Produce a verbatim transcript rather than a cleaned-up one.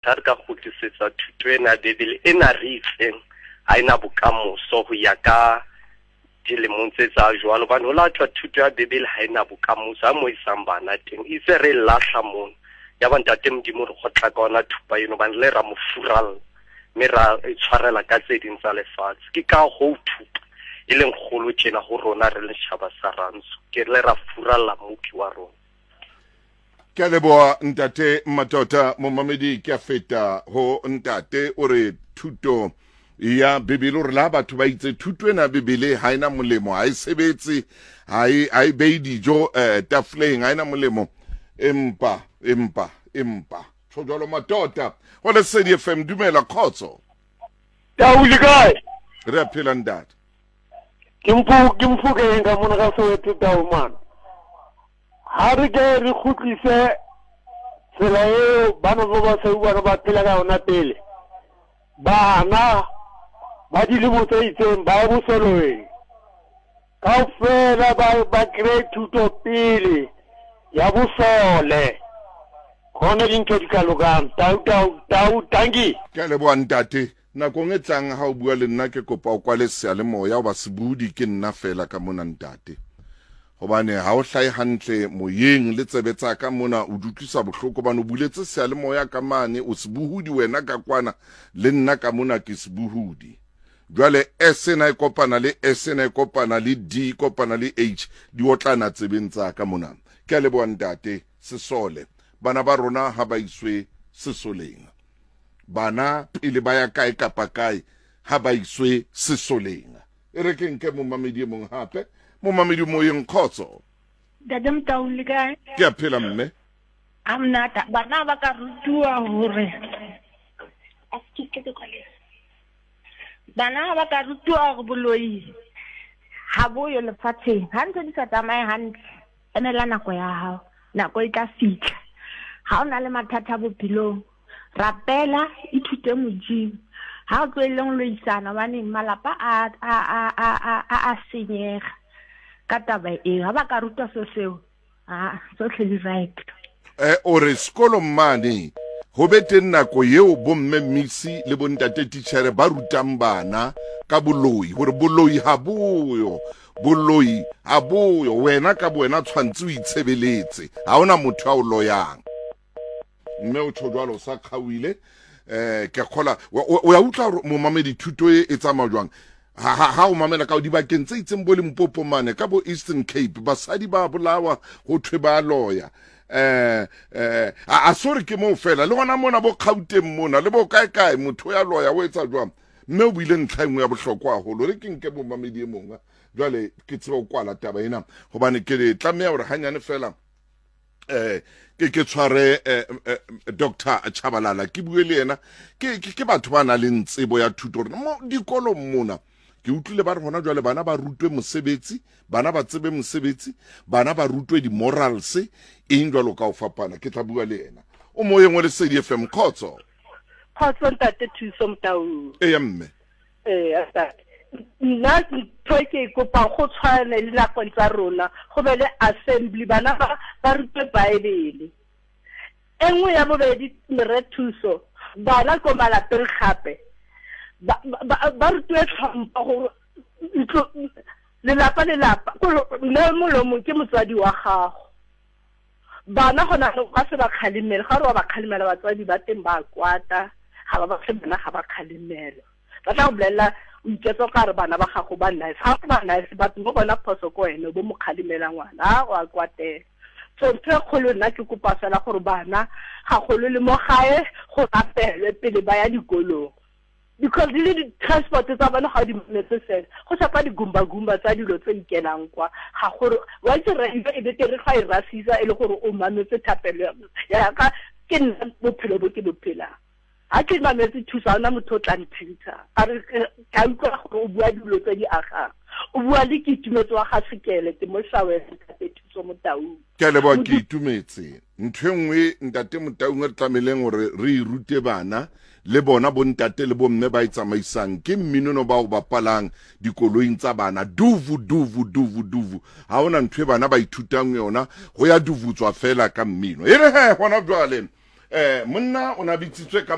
Ha re ka kgutlisetsa thuto ena ya Bebele ena re itseng ha ena bokamoso ho ya ka dilemong tse tsa jwalo, hobane ho la thwa thuto ya Bebele ha ena bokamoso ha mo isang bana teng itse re lahla mono. Ya ba ntate Modimo re kgotla ka ona thupa eno, hobane le ra mo furalla mme ra e tshwarela ka tse ding tsa lefatshe. Ke ka hoo thupa e leng kgolo tjena ho rona re le setjhaba sa Rantsho, ke le ra furalla Mmopi wa rona. Ke a leboha ntate Matota. Momamedi, ke a feta ho ntate o re thuto ya Bebele, o re la batho ba itse thuto ena ya Bebele ha ena molemo, ha e sebetse, ha e ha e behe dijo eh, tafoleng, ha ena molemo, empa empa empa tjho jwalo. Matota ho Lesedi F M, dumela, kgotso. Tau, le kae? Re a phela, ntate. Ke mpho ke Mfokeng ka mona ka Soweto. Tau man. Ha re ke re kgutlise tsela eo bana ba basweu bana ba phela ka yona pele. Bana ba dilemo tse itseng ba ye bosoleng. Kaofela ba ba kry thuto pele ya bosole. Khona dintho di ka lokang. Tau, tau, tau, dankie. Ke a leboha, ntate. Nakong e tlang ha o bua le nna, ke kopa o kwale seyalemoya, hoba sebudi ke nna fela ka mona, ntate, hobane ha o hlahe hantle moyeng le tsebe tsa ka mona o di utlwisa bohloko, hobane o buletse seyalemoya ka mane, o sebohodi wena ka kwana, le nna ka mona ke sebohodi. Jwale S ena e kopana le S ena, e kopana le D, e kopana le H, di otlana tsebeng tsa ka mona. Ke a leboha, ntate. Sesole, bana ba rona ha ba iswe sesoleng. Bana pele ba ya kae kapa kae, ha ba iswe sesoleng. E re ke nke momamedi e mong hape. Momamedi moyeng, kgotso. Ntate Motaung, le kae? Ke a phela, mme. A monate. Bana ba ka rutiwa hore, excuse, ke kwale. Bana ba ka rutiwa hore boloi ha boyo lefatsheng. Ha ntho di sa tsamaye hantle, emela nako ya hao. Nako e tla fihla. Ha o na le mathata bophelong, rapela, ithute Modimo. Ha o tlohelleng lo isana, hobane malapa a a a a a a senyega ka taba eo. Ha ba ka rutwa so seo, ah, tsohle di right. eh o re sekolong mane ho be teng nako eo bomme misi le bontate titjhere ba rutang bana ka boloi, hore boloi ha boyo, boloi ha boyo, wena ka bowena tshwantse o itshebeletse, ha hona motho a o loyang. Mme o tjho jwalo o sa kgaohile. eh ke kgola o ya utlwa hore momamedi thuto e e tsamaya jwang. Ha ha ha o mamela ka dibakeng tse itseng, bo Limpopo mane ka bo Eastern Cape, basadi ba bolawa, ho thwe ba loya. eh eh a sore ke moo fela, le hona mona bo Gauteng mona le bo kae kae, motho ya loya o etsa jwang? Mme o buile ntlha e nngwe ya bohlokwa haholo. Re ke nke momamedi e mong jwale, ke tsebe ho kwala taba ena, hobane ke tlameha hore hanyane fela eh ke ke tshware eh, eh, Doctor Chabalala, ke bue le yena. Ke ke batho ba nang le tsebo ya thuto hore mo dikolong mona ke utlwile ba re hona jwale bana ba rutwe mosebetsi, bana ba tsebe mosebetsi, bana ba rutwe di-morals, eng jwalo ka ho fapana. Ke tla bua le yena. O moyeng wa Lesedi F M, kgotso. Kgotso, ntate Thuso Motaung. Eya, mme. Ee, ntate, nna ntho e ke e kopang, go tshwane le nakong tsa rona, go be le assembly, bana ba ba rutwe Bible. E nngwe ya bobedi, mere Thuso, bana ko malapeng gape ba ba ba rutiwe tlhompho, gore ntlo, lelapa, lelapa, mme molomo ke motswadi wa gago. Bana gona ba se ba kgalemele, ga re wa ba kgalemela, batswadi ba teng ba kwata, ga ba batle bana ga ba kgalemelwa. Ba tla go bolelela o iketsa o kare bana ba gago ba nice, ga ba nice, batho mo bona phoso ko wena o bo mo kgalemela ngwana a o a kwatela. So ntho e kgolo, nna ke kopa fela gore bana gagolo le mo gae go rapelwe pele ba ya dikolong, because le di-transport tsa bone ga di mametse fela, go shapa di-gumbagumba tsa dilo tse ikelang kwa ga gore wa itse radio e betere ga e rasisa e le gore o mametse thapelo ya ka. Ke nna bophelo bo ke bo phelang, ga ke mametse Thuso, ga ona motho o tla nthintsha a re ka utlwa gore o bua dilo tse di agang. O bua le ke Itumetse wa ga Sekele, ke mo Shawele, ntate Thuso Motaung. Ke a leboha, ke Itumetse. Ntho e nngwe, ntate Motaung, re tlamehileng hore re e rute bana le bona bontate le bomme ba e tsamaisang, ke mminono ba o bapalang dikoloing tsa bana, duvu duvu duvu duvu. Ha hona ntho e bana ba ithutang yona, ho ya duvutswa fela ka mmino. E re he hona jwale Eh monna o na bitsitswe ka